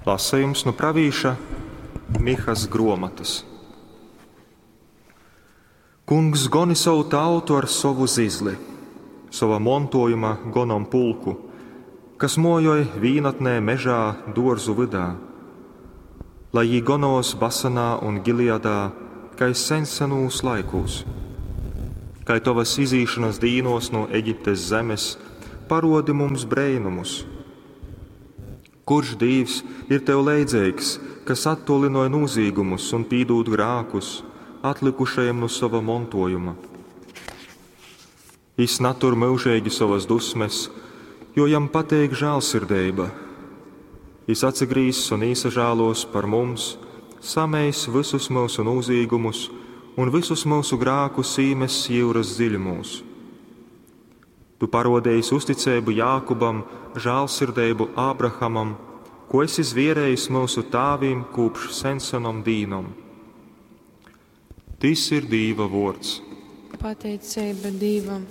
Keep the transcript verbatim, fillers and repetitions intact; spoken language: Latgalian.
Lasejums nu pravīša Mihas gruomotys. Kungs goni sovu tautu ar sovu zizli, sova montuojuma gonompulku, kas muojoj vīnatnē mežā, duorzu vydā. Lai jī gonuos Basanā un Gileadā, kai seņsenūs laikūs. Kai tovys izīšonys dīnuos nu Egiptes zemes, paruodi mums breinumus. Kurš dīvs ir tev leidzeigs, kas attuolynoj nūzīgumus un pīdūd grākus atlykušajim nu sova montuojuma? Jis natur myužeigi sovas dusmes, jo jam pateik žālsirdeiba. Jis atsagrīzs un īsažāluos par mums, sameis vysus myusu nūzīgumus un vysus myusu grākus īmess jyuras dziļumūs. Tu paruodeisi uzticeibu Jākubam, žālsirdeibu Ābrahamam, ko esi zvierējis myusu tāvim kūpš sensenom dīnom. Tys ir Dīva vuords. Pateiceiba Dīvam.